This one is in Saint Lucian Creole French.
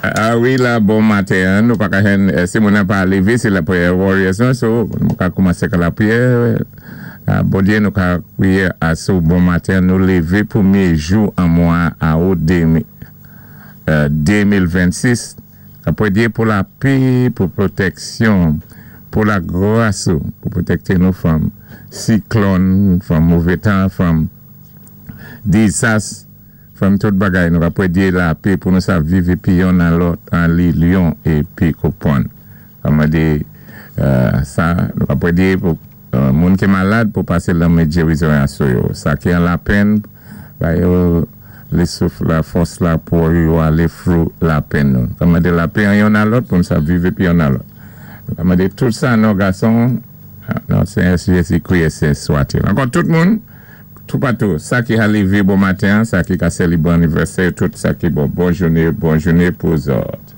A wi, la, bon maten, nou pa ka jwenn, si moun nan pa lévé, sé la prayer warriors non, so, nou ka koumansé ka lapriyè. Bondyé, nou ka kwiyé asou bon maten, nou lévé pwémyé jou an mwa awout 2026. Ka pwédyé pou lapè, pou pwotèksyon, pou lagras ou, pou pwotèkté nou from siklòn, from mové tan, from dizas, from tout bagay. Nou ka pwédyé lapè pou nou sa viv épi youn an lòt an linyon épi konpwann. Ka mandé sa, nou ka pwédyé pou moun ki malad pou pasé lanmen jérizon sou yo. Sa ki an lapenn, ba yo lé souf la, fòs la pou yo alé through lapenn nou. Ka mandé lapè an youn an lòt pou nou sa viv épi youn an lòt. Ka mandé tout sa non gason, non Séyè Jézi-Kri sen swat. Ankò tout moun, tout patou, sa ki a lévé bon maten, sa ki ka sélébré anivèsè, tout sa ki bon, bon jouné, bon jouné pou zòt.